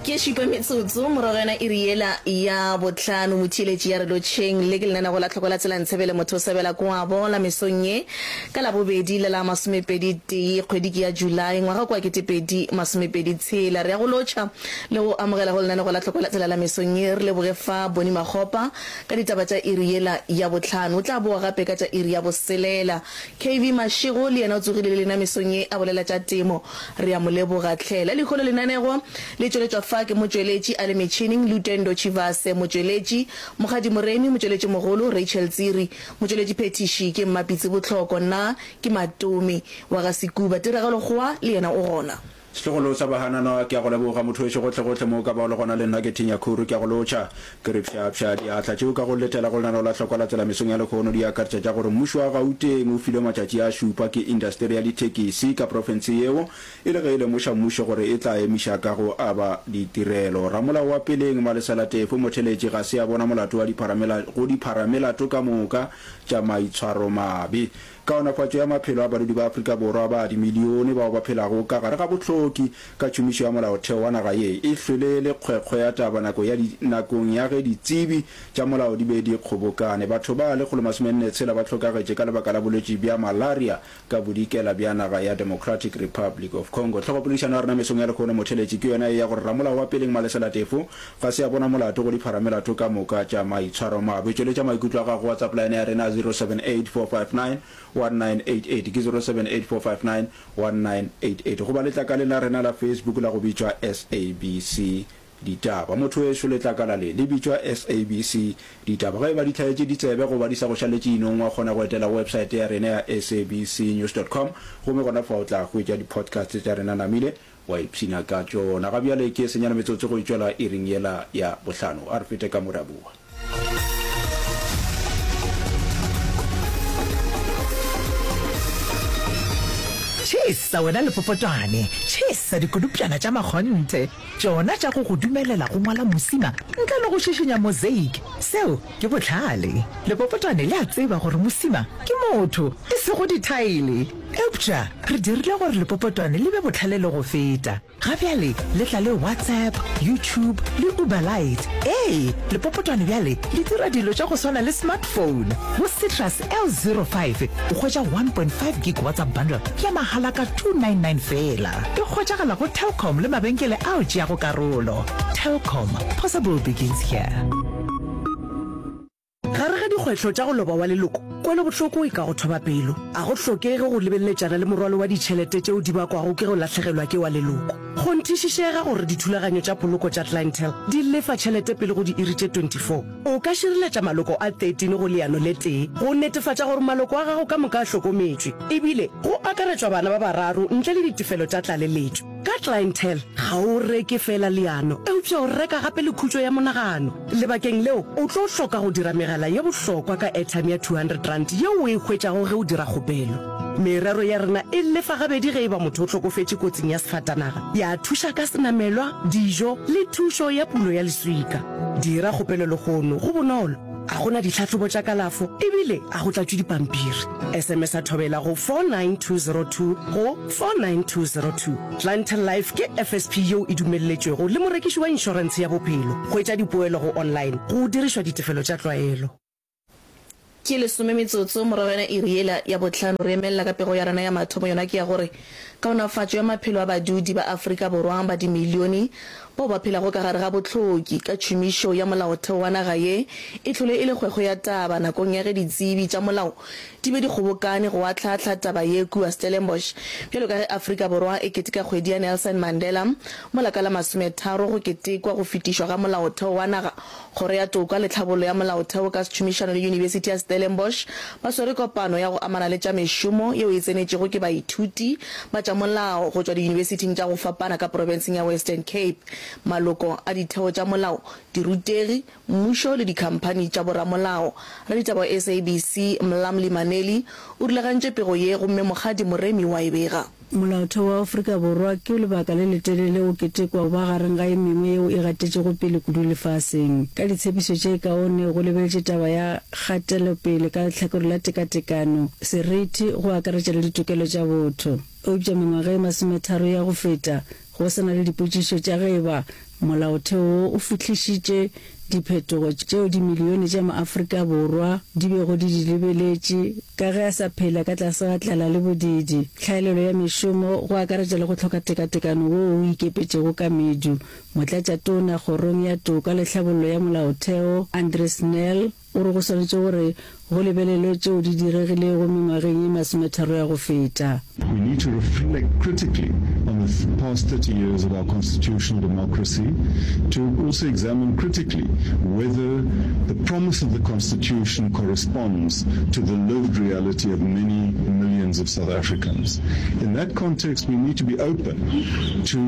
Ke šupa metsotso morago yona iri yela ya bohlano motheeletši ya re lotšheng le ke lenanego la tlhoko la tsela ntshebele motho o sebela kwabo la mesong ye ka labobedi le la masomepedi tee kgwedi ke ya July ngwaga kwa 2026 re ya go lotšha le go amogela go lenanego la tlhoko la tsela la mesong ye re leboge fa Boni Makgopa ka ditaba tša iri yela ya bohlano o tla boa gape ka tša iri ya boselela KV Mashego le yena o tsogile le lena mesong ye a bolela tša temo. Re a mo leboga hle. La lehono lenanego le tšweletšwa fa ke motšweletši a le metšhining, Lutendo Tshivhase, motšweletši, Mokgadi Moremi, motšweletši mogolo, Rachel Tsiri, motšweletši phethiši ke Mmapitsi Bohloko, nna ke Matome wa ga Sekuba. Tiragalo Kgowa le yena o gona. Setlogolo sa Bahananwa, ke a go leboga motho wešo gohlegohle mo o ka bago le gona le nna ke Thinya Khuru ke a go lotšha. Ke re pšhaapšhaa diatla tšeo ka go letela go lenaneo la hlokwa la tsela mesong ya lehono di akaretša tša gore mmušo wa Gauteng o filwe matšatši a šupa ke indasteri ya dithekisi ka profense yeo e le ge e lemoša mmušo gore e tla emiša ka go aba ditirelo. Ramolao wa peleng Malesela Tefo Motheletši ga se a bona molato wa go dipharamelato ka moka tša maitshwaromabe. Kaonafatšo ya maphelo a badudi ba Afrika Borwa ba dimilione bao ba phelago ka gare ga bohloki ka tšhomišo ya Molaotheo wa naga ye e hlwele e le kgwekgwe ya taba nako ya nakong ya ge ditsebi tša molao di be di kgobokane. Batho ba 146 ba hlokagetše ka lebaka la bolwetši bja malaria ka bodikela bja naga ya Democratic Republic of Congo. Hlogopoledišano ya rena mesong ya lehono motheletši ke yona ye ya gore ramolao wa peleng Malesela Tefo Ga se a bona molato go dipharamelato ka moka tša maitshwaromabe. Tšweletša maikutlo a gago go WhatsApp line ya rena 0784591988, ke 0784591988, goba letlakaleng la rena la Facebook la go bitšwa SABC Ditaba. Motho wešo, letlakala le le bitšwa SABC Ditaba. Ge e ba di hlaetše ditsebe goba di sa go šaletše inong, wa kgona go etela websaete ya rena ya sabcnews.com gomme gona fa o tla hwetša di-podcast tša rena namile Wa ipshina ka tšona. Ga bjale ke senyane metsotso go e tšwela iring yela ya bohlano. A re fete ka mo re a boa. Tšhesa wena lepopotwane, tšhesa dikodupšana tša makgonthe, tšona tša go go dumelela go ngwala mosima ntle le go šišinya mosaic. Seo ke bohlale. Lepopotwane le a tseba gore mosima ke motho, e sego dithaele. Eupša re dirile gore lepopotwane le be bohlale le go feta. Ga bjale le tla le WhatsApp, YouTube le Uber Lite. Ee, lepopotwane bjale le dira dilo tša go swana le smartphone. Go Citrus L05 o hwetša 1.5 gig WhatsApp bundle ya mahala ka 299 feela. E hwetšagala go Telkom le mabenkele ao tšeago karolo. Telkom, possible begins here. Gare ga dikgwetlho tša go loba wa leloko, kwelobohloko e ka go thoba pelo. A go hlokege go lebeleletšana le morwalo wa ditšhelete tšeo di bakwago ke go lahlegelwa ke wa leloko. Kgonthišišega gore dithulaganyo tša poloko tša Clientele di lefa tšhelete pele go diiri tše 24. O ka šireletša maloko a 13 go leano le tee go netefatša gore maloko a gago ka moka a hlokometšwe, ebile go akaretšwa bana ba bararo ntle le ditefelo tša tlaleletšo. Ka Clientele, ga o reke feela leano, eupša o reka gape le khutšo ya monagano. Lebakeng leo, o tlo hloka go dira megala ye bohlokwa ka airtime ya R200 yeo o e hwetšago ge o dira kgopelo. Merero ya rena e lefa gabedi ge e ba motho o hlokofetše kotsing ya sefatanaga, ya thuša ka senamelwa, dijo le thušo ya pulo ya leswika. Dira kgopelo lehono, go bonolo, ga go na ditlhahlobo tša kalafo ebile ga go tlatšwe dipampiri. SMS-a Thobela go 49202 go 49202. Clientele Life ke FSP yeo e dumelletšwego le morekiši wa inšorentshe ya bophelo. Hwetša dipoelo go online go dirišwa ditefelo tša tlwaelo. Ke lesome metsotso morago yona iri yela ya bohlano. Re emelela ka pego ya rena ya mathomo, yona ke ya gore kaonafatšo ya maphelo a badudi ba Afrika Borwa ba dimilione bao ba phelago ka gare ga bohloki ka tšhomišo ya molaotheo wa naga ye e hlole e le kgwekgwe ya taba nakong ya ge ditsebi tša molao di be di kgobokane go ahlaahla taba ye kua Stellenbosch bjalo ka ge Afrika Borwa e keteka kgwedi ya Nelson Mandela mola ka la masometharo go ketekwa go fetišwa ga molaotheo wa naga. Kgoro ya Toka le Tlhabollo ya Molaotheo ka tšhomišano le Yunibesithi ya Stellenbosch ba swere kopano ya go amana le tša mešomo yeo e tsenetšego ke baithuti ba tša molao go tšwa diyunibesithing tša go fapana ka profenseng ya Western Cape, maloko a ditheo tša molao, dirutegi, mmušo le dikhamphani tša boramolao. Raditaba wa SABC, Mlamli Maneli, o rulagantše pego ye gomme Mokgadi Moremi wa e bega. Molaotheo wa Afrika Borwa ke lebaka le letelele o ketekwa go ba gareng ga e mengwe yeo e gatetšego pele kudu lefaseng. Ka ditshepišo tše kaone go lebeletše taba ya kgatelopele ka lehlakore la tekatekano, seriti, go akaretša le ditokelo tša botho. Eupša mengwaga e masometharo ya go feta, go sa na le dipotšišo tša ge e ba. Molaotheo wo o fihlišitše diphetogo tšeo dimilione tša maAfrika Borwa di bego di di lebeletše ka ge a sa phela ka tlase ga tlala le bodiidi, tlhaelelo ya mešomo, go akaretša le go hloka tekatekano woo o ikepetšego ka medu. Motlatšatona Kgorong ya Toka le Tlhabollo ya Molaotheo, Andries Nel, O re go swanetše gore go lebelelwe tšeo di diregilego mengwageng ye masometharo ya go feta. We need to reflect critically on the past 30 years of our constitutional democracy to also examine critically whether the promise of the constitution corresponds to the lived reality of many millions of South Africans. In that context, we need to be open to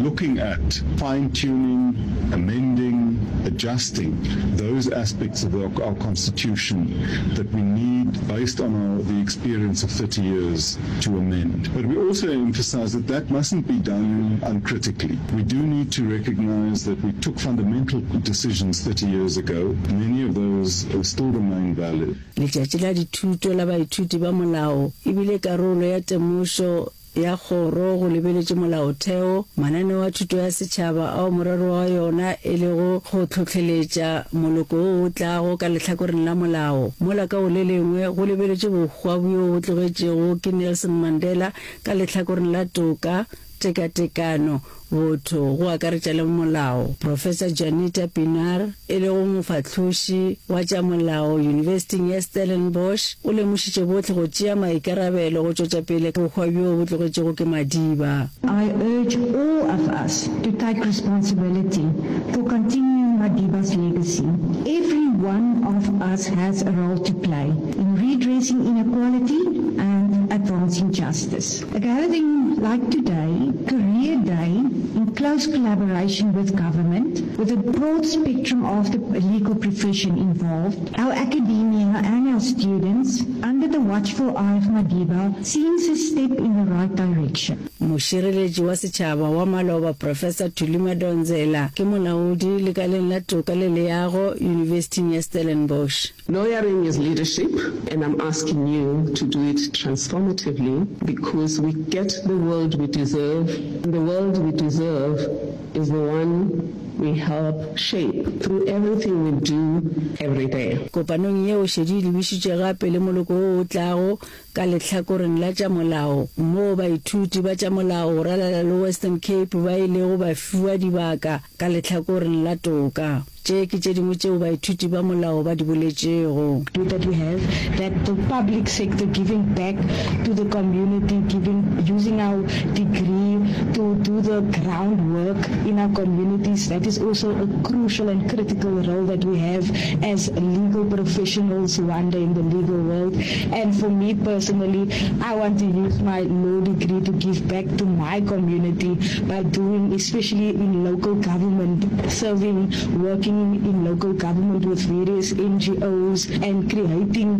looking at fine-tuning, amending, adjusting those aspects of our, our constitution that we need based on our, the experience of 30 years to amend. But we also emphasize that that mustn't be done uncritically. We do need to recognize that we took fundamental decisions 30 years ago. Many of those still remain valid. Letšatši la Dithuto la Baithuti ba Molao e bile karolo ya temošo ya kgoro go lebeletše molaotheo, mananeo a thuto ya setšhaba ao morero wa yona e lego go hlohleletša moloko wo o tlago ka lehlakoreng la molao, mola ka go le lengwe go lebeletše bohwa bjo bo tlogetšego ke Nelson Mandela ka lehlakoreng la toka, tekatekano, botho go akaretša le molao. Professor Juanita Pienaar, e lego mofahloši wa tša molao Yunibesithing ya Stellenbosch, o lemošitše bohle go tšea maikarabelo go tšwetša pele bohwa bjo bo tlogetšwego ke Madiba. I urge all of us to take responsibility for continuing Madiba's legacy. Every one of us has a role to play in redressing inequality and advancing justice. A gathering like today, Career Day, in close collaboration with government, with a broad spectrum of the legal profession involved, our academia and our students, under the watchful eye of Madiba, seems a step in the right direction. Mošireletši wa setšhaba wa maloba Professor Thuli Madonsela ke molaodi lekaleng la toka le leago Yunibesithing ya Stellenbosch. Lawyering is leadership and I'm asking you to do it transformatively because we get the world we deserve and the world we deserve is the one we help shape through everything we do every day. Kopanong yeo šedi e lebišitšwe gape le moloko wo o tlago ka lehlakoreng la tša molao moo baithuti ba tša molao go ralala le Western Cape ba ilego ba fiwa dibaka ka lehlakoreng la toka. Tše ke tše dingwe tšeo baithuti ba molao ba di boletšego. That we have that the public sector giving back to the community, giving, using our degree to do the ground work in our communities, that is also a crucial and critical role that we have as legal professionals one day in the legal world. And for me personally, I want to use my law degree to give back to my community by doing, especially in local government, serving, working in local government with various NGOs and creating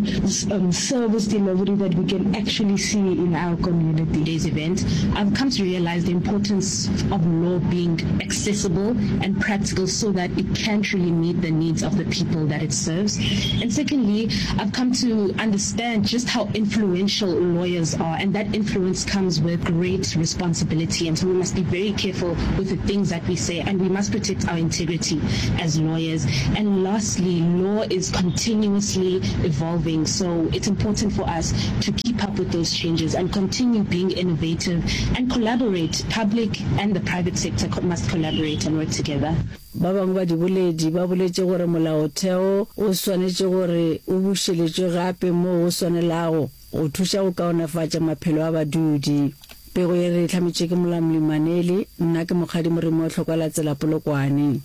um, service delivery that we can actually see in our community. Today's event, I've come to realize the importance of law being accessible and practical so that it can truly meet the needs of the people that it serves. And secondly, I've come to understand just how influential lawyers are, and that influence comes with great responsibility. And so we must be very careful with the things that we say, and we must protect our integrity as lawyers. And lastly, law is continuously evolving, so it's important for us to keep up with those changes and continue being innovative and collaborate. Public and the private sector must collaborate and work together. Ba bangwe ba diboledi ba boletše gore molaotheo o swanetše gore o bušeletšwe gape moo go swanelago go thuša go kaonafatša maphelo a badudi. Pego ye re e hlametšwe ke Molamli Maneli, nna ke Mokgadi Moremi wa Tlhokwa la Tsela Polokwane.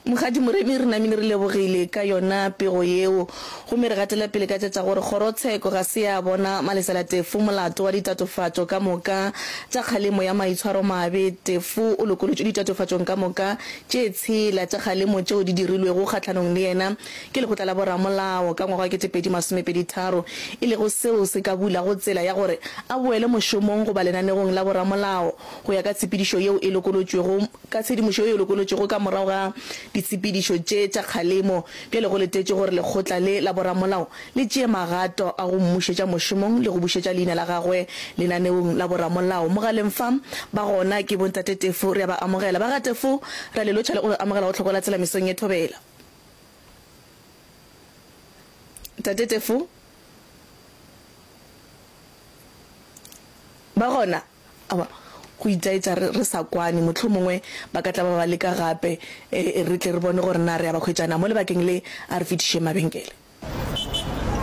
Mokgadi Moremi, re namile re lebogile ka yona pego yeo. Gomme re gatela pele ka tša tša gore kgorotsheko ga se ya bona Malesela Tefo molato wa ditatofatšo ka moka tša kgalemo ya maitshwaromabe. Tefo o lokolotšwe ditatofatšong ka moka tše tshela tša kgalemo tšeo di dirilwego kgahlanong le yena ke lekgotla la boramolao ka ngwaga wa 2023, e lego seo se ka bulago tsela ya gore a boele mošomong goba lenanegong la boramolao go ya ka tshepedišo yeo e lokolotšwego Ka tshedimošo yeo e lokolotšwego ka morago ga ditshepedišo tše tša kgalemo. Bjale go letetšwe gore lekgotla le la boramolao le tšee magato a go mmušetša mošomong le go bušetša leina la gagwe lenaneong la boramolao. Mogaleng fa ba gona ke bo Ntate Tefo, re a ba amogela. Ba ga Tefo, re a le lotšha le go le amogela go Tlhoko la Tsela mesong ye thobela. Ntate Tefo? Ba gona? Aowa, go itaetša re, re sa kwane. Mohlomongwe ba ka tla ba ba leka gape, e, re tle re bone gore na re a ba hwetša na. Mo lebakeng le, a re fetišeng mabenkele.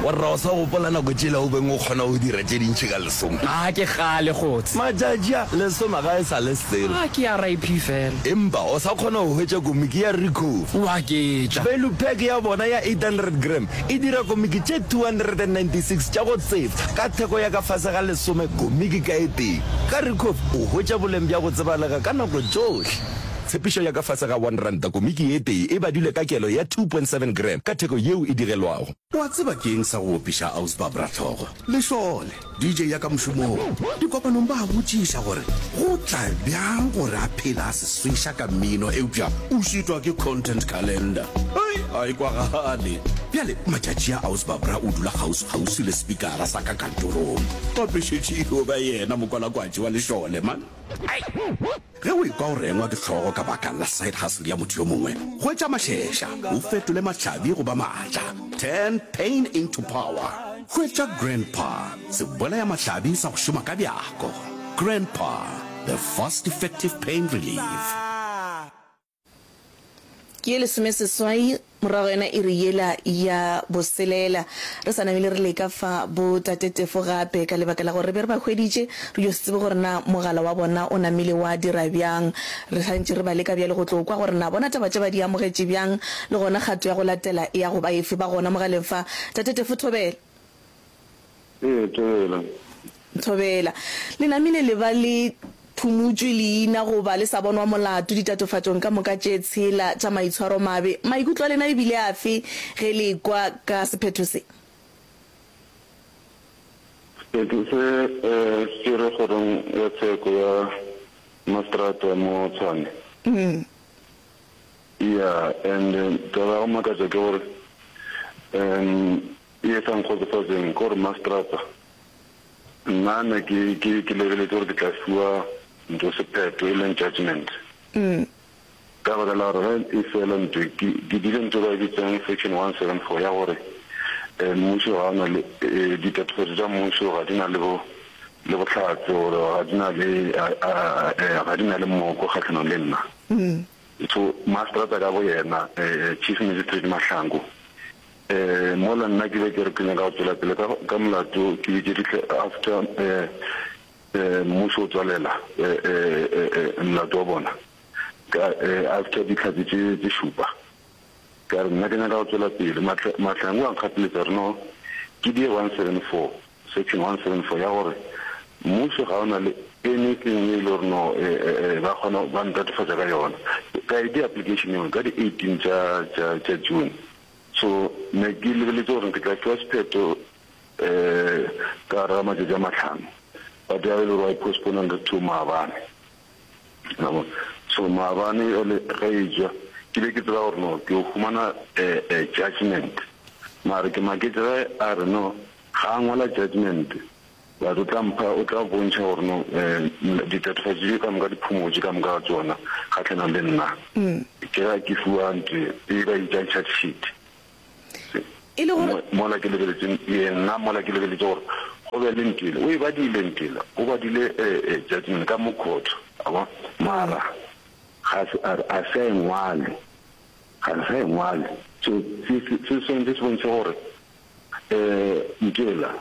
Warra o sa gopola nako tšela o beng o kgona go dira tše dintši ka lesome? A ke kgale kgotse. Matšatši a, lesome ga e sa le selo. A ke RIP fela. Empa o sa kgona go hwetša komiki ya Ricoh. O a ketša. Value pack ya bona ya 800 gram e dira komiki tše 296 tša go tsefa ka theko ya ka fase ga lesome komiki ka e tee. Ka Ricoh o hwetša boleng bja go tsebalega ka nako tšohle. Tshepišo ya ka fase ga R1 komiki e tee e badilwe ka kelo ya 2.7 gram ka theko yeo e digelwago. Wa tseba ke eng sa go opiša Aus Barbra hlogo? Lešole, DJ ya ka mošomong. Dikopanong ba a botšiša gore go tla bjang gore a phele a se sweša ka mmino eupša o šitwa ke content calendar. Hei, a e kwagale. Bjale matšatši a Aus Barbra o dula kgauswi-kgauswi le spikara sa ka kantorong. Gape šetše e yo ba yena mokwalakwatši wa lešole, man. Ai! Ge o ekwa o rengwa ke hlogo ka baka la side hustle ya motho yo mongwe, hwetša mašeša, o fetole mahlabi go ba maatla. Turn pain into power. Hwetša Grandpa, sebolayamahlabi sa go šoma ka bjako. Grandpa, the fast effective pain relief. Ke ye lesomeseswai morago yona iri yela ya boselela. Re sa namile re leka fa bo Tate Tefo gape ka lebaka la gore re be re ba hweditše, re yo se tsebe gore na mogala wa bona o namile wa dira bjang. Re sa ntše re ba leka bjale go tlo kwa gore na bona taba tše ba di amogetše bjang le gona kgato ya go latela e ya go ba efe. Ba gona mogaleng fa. Tate Tefo thobela. Ee, thobela. Thobela. Le namile le ba le phumotšwe leina goba le sa bonwa molato ditatofatšong ka moka tše tshela tša maitshwaromabe. Maikutlo a lena e bile afe ge le ekwa ka sephetho se? Sephetho se se tšerwe kgorong ya tsheko ya maseterata mo Tshwane. Yeah, and taba ya go makatša ke gore um Ye sa nkgotsofatšeng ke gore maseterata nna ne ke ke ke lebeletše gore ke tla fiwa ntho sephetho e leng judgement. Ka baka la gore ge e fela ntho ke ke dile ntho ba e bitsang section 174 ya gore mmušo ga o na le ditatofatšo tša mmušo ga di na le bo le bohlatse gore ga di na le ga di na le moko kgahlanong le nna. So maseterata ka bo yena Chief Magistrate Mahlangu Eh, mola nna ke be ke re ke nyaka go tšwela pele ka, ka molato, ke bitše dihle after eh, eh, mmušo o tswalela eh, eh, eh, eh, molato wa bona, ka, eh, after dihlatse tše, tše šupa. Ka re nna ke nyaka go tšwela pele. Mahla, Mahlangu a nkgapeletša gore no, ke die 174, section 174 ya gore mmušo ga o na le anything e le gore no, eh, eh, eh, ba kgona, ba ntatofatša ka yona. Ka e dia application yeo ka di 18 tša, tša, tša June. So ne ke lebeletše gore ke tla fiwa sephetho um ka gare ga matšatši a mahlano, but ya be e le gore ba e postpone to maabane. Wa bona? So maabane jwale ge e tšwa ke be ke tseba gore no ke yo humana judgement, mare ke maketše ge a re no ga a ngwala judgement But o tla mpha, o tla bontšha gore no, ditatofatšo tše ka moka di phumotše ka moka ga tšona kgahlanong le nna. Ke ge ke fiwa ntho e ba e bitšang charge sheet. E le gore. Mola ke lebeletše, ee, nna mola ke lebeletše gore go be le ntho ele. O e badile ntho ele, o badile judgement ka mo court, wa bona. Mara ga se, a re a se a e ngwale, ga se a e ngwale. So se, se, se swanetše se bontšhe gore ntho ela.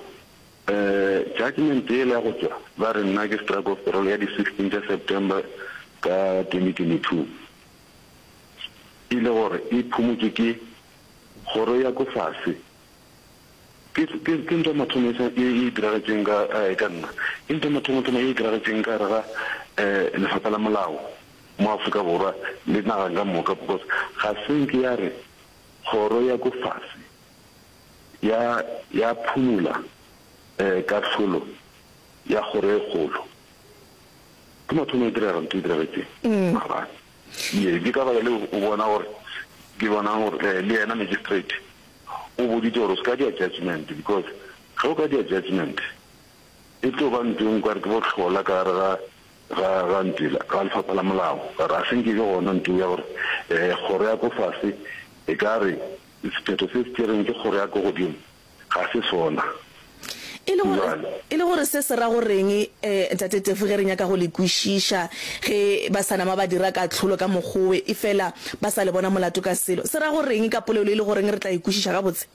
Judgement yela ya go tšwa ba re nna ke strike off parole ya di 16 tša September ka 2022 e le gore e phumotšwe ke kgoro ya ko fase. Ke, ke, ke ntho ya mathomo e sa, e, e diragetšeng ka, ka nna. Ke ntho ya mathomothomo e diragetšeng ka gare ga lefapha la molao mo Afrika Borwa le nageng ka moka because ga se nke ya re kgoro ya ko fase ya, ya phumola kahlolo ya kgoro e kgolo. Ke mathomo e direga ntho e diragetšeng maabane. Ye, ke ka baka leo o bona gore. ke bonang gore eh, le yena magistrate o boditse gore o se ka dia judgment because ge o ka dia judgment e tlo ba ntho e nngwe kare ke bohlola ka gare ga ga ga ntela ga lefapha la molao ka re a se nke e be gona ntho ya gore um kgoro ya ko fase e ka re sephetho se se tšereng ke kgoro ya ko godimo ga se sona. E le gore, e le gore se se ra go reng, eh, Ntate Tefu, ge re nyaka go le kwešiša, ge ba sa nama ba dira kahlolo ka mokgowe, efela ba sa le bona molato ka selo. Se ra go reng ka polelo e le goreng re tla e kwešiša gabotse?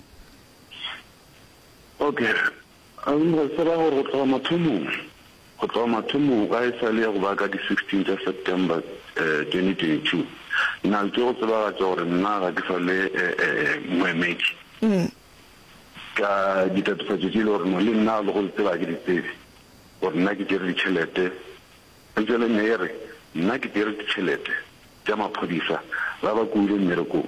Okay. Aowa, se ra gore go tloga mathomong, go tloga mathomong ga e sa le ya go ba ka di 16 tša September 2022, na le tšo go tsebagatša gore nna ga ke sa le moemedi ka ditatofatšo tše e le gore no le nna le go di tseba ga ke di tsebe gore nna ke tšere ditšhelete. Eupša le nna e re nna ke tšere ditšhelete tša maphodisa ba ba kuile mmerekong,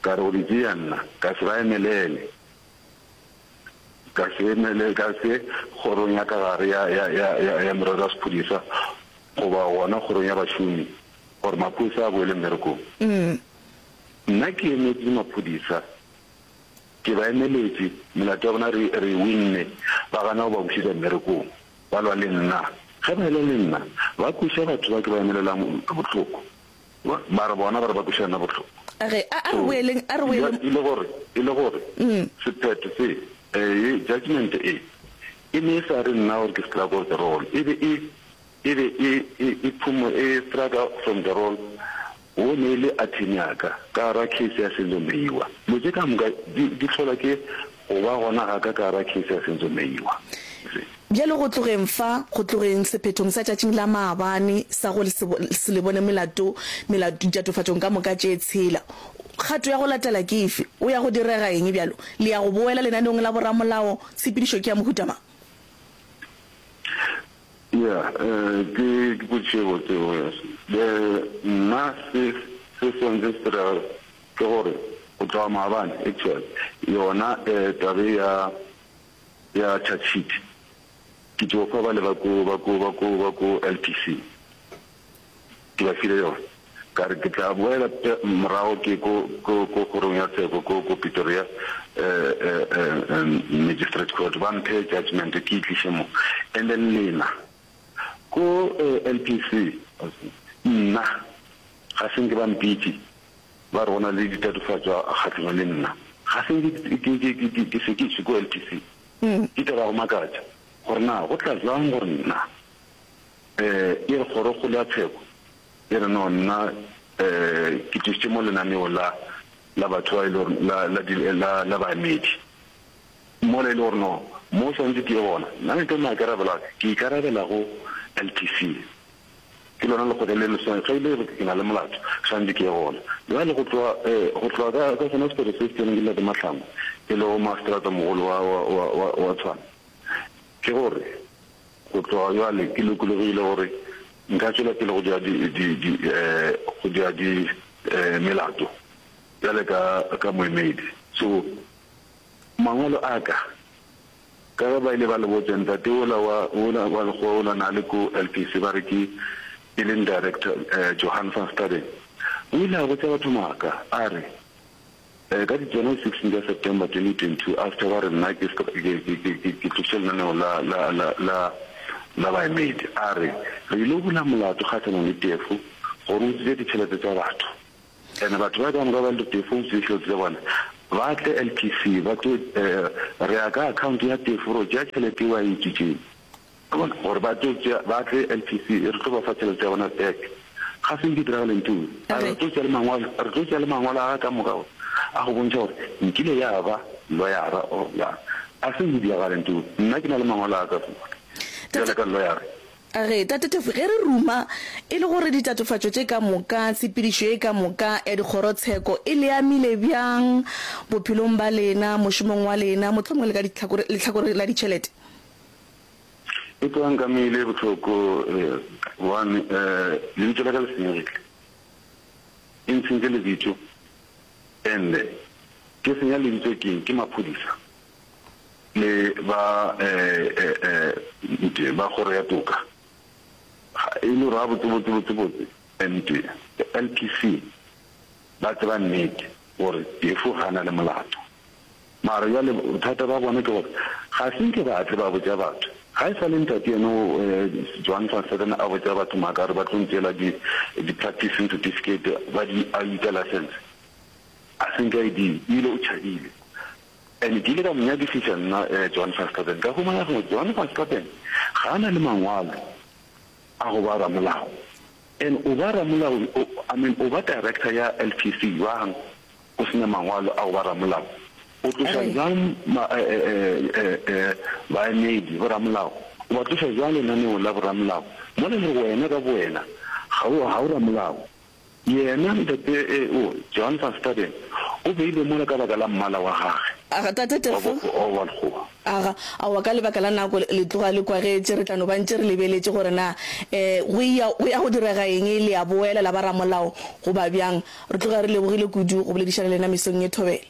ka re go di tšea nna ka se ba emelele. Ka se emele, ka se kgorong ya ka gare ya, ya, ya, ya, ya merero ya sephodisa, goba gona kgorong ya bašomi, gore maphodisa a boele mmerekong. Nna ke emetše maphodisa, ke ba emeletše, melato ya bona re, re e winne, ba gana go ba bušetša mmerekong. Ba lwa le nna. Ge ba elwa le nna, ba kweša batho ba ke ba emelelang bohloko. Mara bona ba re ba kweša nna bohloko. A re, a, a re boeleng, a re boeleng. E le gore, e le gore sephetho se, ye, judgment e, e ne e sa re nna gore ke struck off the roll. E be e, e be e, e, e phumo, e struck from the roll wo ne e le attorney ya ka, ka gara case ya Senzo Meyiwa. Dilo tše ka moka di, di hlola ke go ba gona ga ka ka gara case ya Senzo Meyiwa. See? Bjale go tlogeng fa, go tlogeng sephethong sa tšatšing la maabane sa go se le bone melato, melato, ditatofatšong ka moka tše tshela, kgato ya go latela ke efe? O ya go direga eng bjalo? Le ya go boela lenaneong la boramolao? Tshepedišo ke ya mohuta mang? Ya, ke, ke potšišo e botse yeo, yes. Nna se, se swanetše se direge ke gore go tloga maabane, actually, yona taba ye ya, ya charge sheet ke tšo fa bale ba ko ba ko ba ko ba ko LPC ke ba file yona ka re ke tla boela morago ke ko ko ko kgorong ya tsheko ko ko Pretoria eh, eh, eh, magistrate court ba mphe judgment ke e tliše mo and then lena ko eh, LPC nna ga se nke ba mpitše Ba re go na le ditatofatšo kgahlanong le nna. Ga se nke ke, ke, ke, ke, ke sekišwe ko LPC. Ke taba ya go makatša gore na go tla bjang gore nna, eh, e re kgorokgolo ya tsheko e re no nna, eh, ke tlišitše mo lenaneo la, la batho ba e le gore, la, la, di, la, la baemedi. Mola e le gore no, mo swanetše ke ye gona, nna ke tlo maikarabelo a ka, ke ikarabela go LPC. Ke lona lekgotla le le swa, ge e le gore ke na le molato, swanetše ke ye gona. Bjale go tloga, eh, go tloga ka, ka sona sephetho se se tseneng ke Ntate Mahlangu, e lego maseterata-mogolo wa, wa, wa, wa, wa Tshwane, ke gore go tloga bjale ke lokologile gore nka tšwela pele go dira di, di, di, eh, go dira di, eh, melato bjale ka, ka moemedi. So, mangwalo a ka Ka ge ba ile ba le botša, ntate wola wa, wola wa lekgowa wola na le ko LPC, ba re ke, e leng director, eh, Johan van Staden, o ile a botša batho maaka, a re, eh, ka di tsona di 16 tša September 2022, after ba re nna ke, ke, ke, ke, ke, ke tlošitše lenaneo la, la, la, la, la baemedi, a re, re ile bula molato kgahlanong le Tefo gore o utswitše ditšhelete tša batho. And batho ba ka moka ba le Tefo utswitše ditšhelete tša bona, ba tle LPC ba tlo re ya ka account ya Tefo ro tšea tšhelete eo a e utswitšeng. Wa bona? Gore ba tlo tšea, ba tle LPC re tlo ba fa tšhelete ya bona back. Ga se nke diragale ntho eo. A re tlo tšea le mangwalo, re tlo tšea le mangwalo a gagwe ka moka a go bontšha gore nkile ya ba lawyer-a or jang. A se nke diragale ntho eo. Nna ke na le mangwalo a ka bjalo ka lawyer. A re, Tate Tefu, ge re ruma, e le gore ditatofatšo tše ka moka, tshepedišo ye ka moka ya dikgorotsheko e le amile bjang bophelong ba lena, mošomong wa lena, mohlomongwe le ka ditlhakore, lehlakore la ditšhelete? E tloga nkamile bohloko, gobane lebitso la ka le senyegile. E ntshentše lebitso, and-e ke senya lebitso ke eng? Ke maphodisa. Le ba ba kgoro ya toka ga e le gore gabotsebotsebotsebotse and LPC. Ba tseba nnete gore Tefo ga a na le molato. Mara bjale bothata ba bona ke gore ga se nke ba tle ba botša batho. Ga e sa le ntate yena o Johan van Staden a botša batho maaka a re ba tlo ntšeela di di practicing certificate ba di a bitša license. A se nke a e dira, ebile o tšhabile. And ke ile ka mo nyakišiša nna Johan van Staden ka humana gore Johan van Staden ga a na le mangwalo a go ba ramolao. And o ba ramolao, I mean o ba director ya LPC bjang o se na mangwalo a go ba ramolao? O tloša bjang baemedi, boramolao? O ba tloša bjang lenaneong la boramolao mola e le gore wena ka bowena ga o, ga o ramolao? Yena ntate o, Johan van Staden, o beilwe mola ka baka la mmala wa gage Aga, Tate wa Tefo. wa lekgowa. Aga, aowa, ka lebaka la nako le tloga le kwagetše, re tla no ba ntše re lebeletše gore na um go ya, go ya go direga eng, le a boela la ba ramolao goba bjang. Re tloga re lebogile kudu go boledišana le lena mesong ye thobela.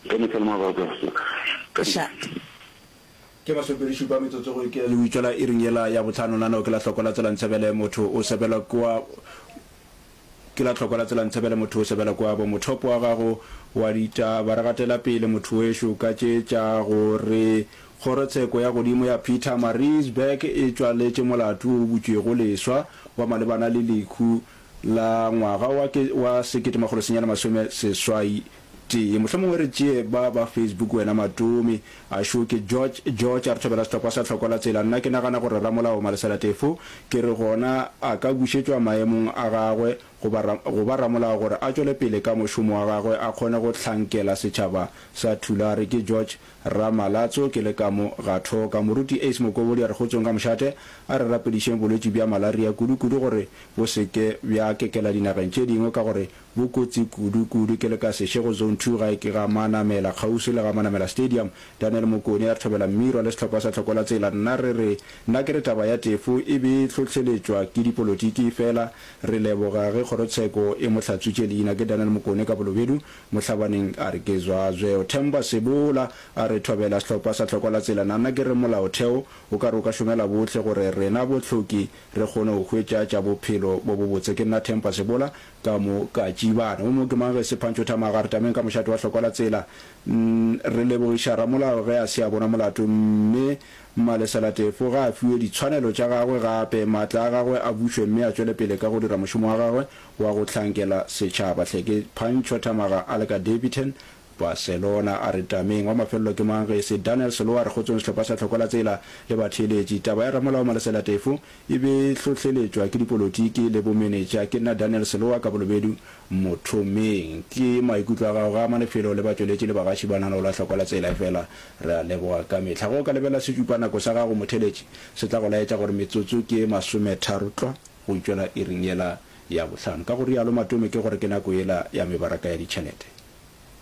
Ka mehla le mabaka. Ka Šate. Ke masomepedi-šupa metsotso go ikela le go itšwela iring yela ya bohlano. Nano ke la hloko la tsela Ntshebele motho o sebela kua Ke la hloko la tsela Ntshebele motho o sebela kua bo Mothopo wa gago wa ditaba re gatela pele motho wešo ka tše tša go re Kgorotsheko ya godimo ya Pietermaritzburg e tšwaletše molato wo o butšwego leswa wa malebana le lehu la ngwaga wa ke wa 1981. Mohlomongwe re tšee ba ba Facebook wena Matome. A šo ke George George a re thobela sehlopha sa Tlhoko la Tsela. Nna ke nagana gore ramolao Malesela Tefo ke re gona a ka bušetšwa maemong a gagwe go ba go ba ramolao gore a tšwele pele ka mošomo wa gagwe a kgone go hlankela setšhaba sa Thulare. Ke George Ramalatso ke le ka mo ga Thoka. Moruti Ace Mokobodi a re kgotsong ka mošate a re rapedišeng bolwetši bja malaria kudu kudu gore bo se ke bja kekela dinageng tše dingwe ka gore bo kotsi kudu kudu. Ke le ka Seshego Zone Two gae ke ga Manamela kgauswi le ga Manamela Stadium. Daniel Mokone a re thobela Mmirwa le sehlopha sa Tlhoko la Tsela. Nna re re nna ke re taba ya Tefo e be e hlohleletšwa ke dipolotiki fela re leboga ge kgorotsheko e mo hlatswitše leina. Ke Daniel Mokone ka Bolobedu Mohlabaneng a re ke zwazweo. Themba Sebola a re thobela sehlopha sa Tlhoko la Tsela. Nna ke re molaotheo o ka re o ka šomela bohle gore rena bohloki re kgone go hwetša tša bophelo bo bobotse. Ke nna Themba Sebola ka mo ka Tšibana. O mo ke mang ge se Phantšho Thamaga a re tameng ka mošate wa Hlokwa la Tsela. Re lebogiša ramolao ge a se a bona molato mme Malesela Tefo ga a fiwe ditshwanelo tša gagwe gape, maatla a gagwe a bušwe mme a tšwele pele ka go dira mošomo wa gagwe wa go hlankela setšhaba. Hle ke Phantšho Thamaga a le ka Daveyton, Barcelona. A re tameng. Wa mafelelo ke mang ge e se Daniel Selowa? Re kgotsong sehlopha sa Hlokwa la Tsela le batheeletši. Taba ya ramolao Malesela Tefo e be e hlohleletšwa ke dipolotiki le bomenetša. Ke nna Daniel Selowa ka Bolobedu Mothomeng. Ke maikutlo a gago ga a ama lefelo le batšweletši le bagaši ba lenaneo la Hlokwa la Tsela efela re a leboga ka mehla. Ge o ka lebelela setšupanako sa gago motheeletši se tla go laetša gore metsotso ke masometharo tlwa go itšwela iring yela ya bohlano. Ka go rialo Matome ke gore ke nako yela ya mebaraka ya ditšhelete.